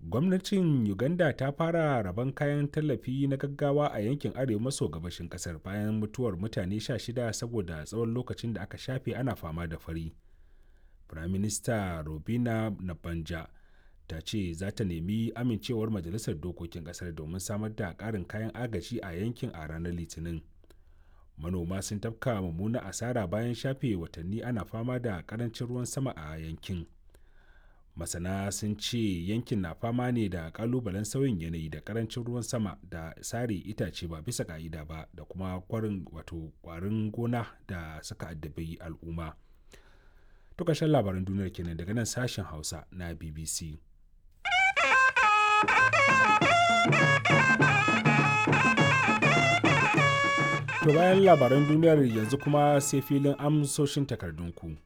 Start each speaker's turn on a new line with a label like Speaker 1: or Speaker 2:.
Speaker 1: Gwamnatin Uganda ta fara rabon kayan tallafi na gaggawa a yankin arewa maso gabashin kasar bayan mutuwar mutane 16 saboda tsawon lokacin da aka shafe ana fama da fari. Firaminista Robina Nabanja ta ce za ta nemi amincewar Majalisar Dokokin Kasar domin samar da ƙarin kayan agaji a yankin a ranar Litinin. Manoma sun tafka mummunar asara bayan shafe watanni ana fama da ƙarancin ruwan sama a yankin. Masana sun ce yankin na fama ne da ƙalubalen sauyin yanayi da ƙarancin ruwan sama da sare itace ba bisa ƙa'ida ba da kuma kwarin wato kwarin gona da suka addabi al'umma. To ƙarshen labaran duniyar kenan daga nan sashen Hausa na BBC. To bayan labaran duniyar yanzu kuma sai filin amsoshin takardunku.